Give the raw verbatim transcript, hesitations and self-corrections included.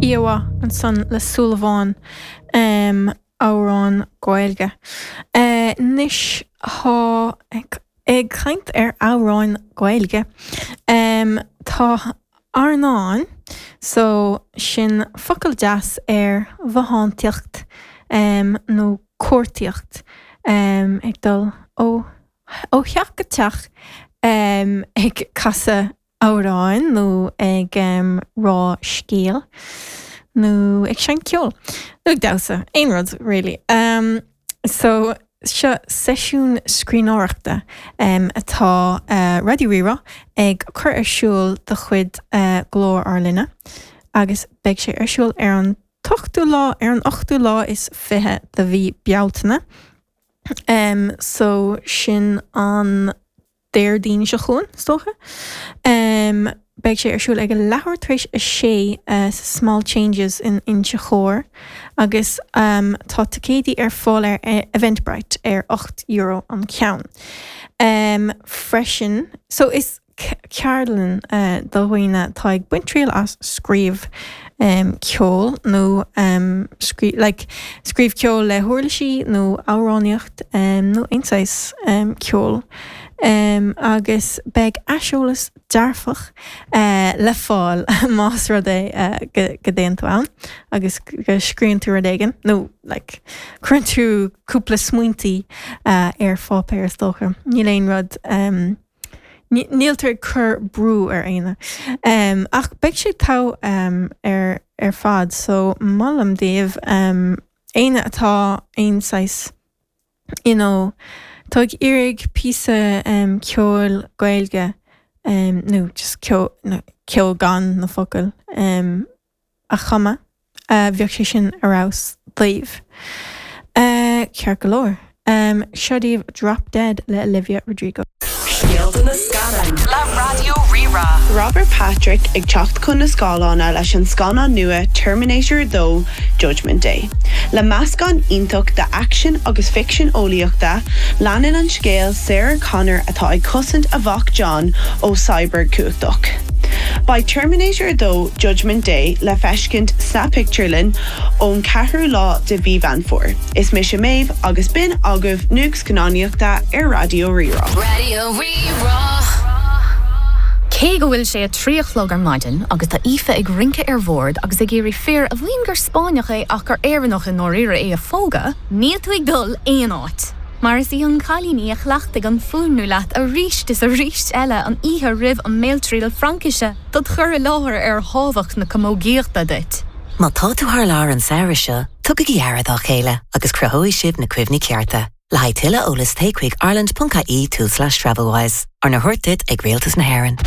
Íomhá ansan le Súilleabháin um, amhrán Gaeilge. Uh, Anois tá ag, ag caint ar amhráin Gaeilge. Um, tá airneán so sin focal deas ar bhothántaíocht um, nó cuartaíocht um, ag dul ó ó theach go teach um, ag casadh amhráin nó ag um, rá scéal nó ag seinnt ceoil nó ag damhsa aon rud really. Um, so seo seisiún scríbhneoireachta um, atá uh, Raidió Rí-Rá ag cur ar siúl de chuid uh, Glór ár Linne agus beidh sé ar siúl ar an ochtú lá ar an ochtú lá is fiche de mhí Bealtaine. Um, so sin an Déardaoin seo chugainn is dócha. Um, beidh sé ar siúl ag a leathuair tar éis a sé uh, small changes in Inse Chór agus um, tá ticéidí ar fáil ar eh, Eventbrite ar ocht euro an ceann. Um, freisin, so is ceardlann uh, do dhaoine atá ag baint triail as scríobh um, ceol nó um, scrí like, scríobh ceol le huirlisí nó amhránaíocht um, nó aon saghas um, ceol. Um, agus beidh aiseolas dearfach uh, le fáil más rud é uh, go go dtéann tú ann agus go scríobhann tú rud éigin nó like, cuireann tú cúpla smaointe uh, ar pháipéar is dócha. Níl aon rud um, Níltar ag cur brú ar éinne. Um, ach beidh sé togha um, ar ar fad, so molaim daoibh um, éinne atá aon saghas you know, tá ag iarraidh píosa um, ceoil Gaeilge um, nó just ceol no, ceol gan na focail um, a chumadh uh, bheadh sé sin ar fheabhas daoibh. Uh, ceart go leor. Um, seo daoibh Drop Dead le Olivia Rodrigo. Scéalta na scannán Le Raidió Rí-Rá. Robert Patrick ag teacht chun na scáileáin leis an scannán nua Terminator dó Judgment Day. Le meascán iontach de action agus ficsean eolaíochta, leanann an scéal Sarah Connor atá ag cosaint a mhac John ó cyborg cumhachtach. Beidh Terminator dó Judgment Day le feiscint sa pictiúrlann ón ceathrú lá de mhí Mheán Fómhair. Is mise Méabh agus b'in agaibh nuacht scannánaíochta ar Raidió Rí-Rá. Raidió Rí-Rá. Cé go bhfuil sé a trí a chlog ar maidin agus tá Aoife ag rince ar bhord agus ag iarraidh fear a mhaíonn gur Spáinneach é ach gur Éireannach i ndáiríre é a phógadh, níl tú ag dul aon áit. Mar is í an cailín í a chleachtaigh an fuaimniú leat arís is arís eile an oíche roimh an mbéaltriail Fraincise dod chur i láthair ar thábhacht na camógaíochta duit. Má tá tú thar lear an samhradh seo, tugaigí aire dá chéile agus cruthóidh sibh na cuimhní cearta. Le haghaidh tuilleadh eolais téigh chuig ireland.ie tulslais Travelwise, arna thabhairt duit ag Rialtas na hÉireann.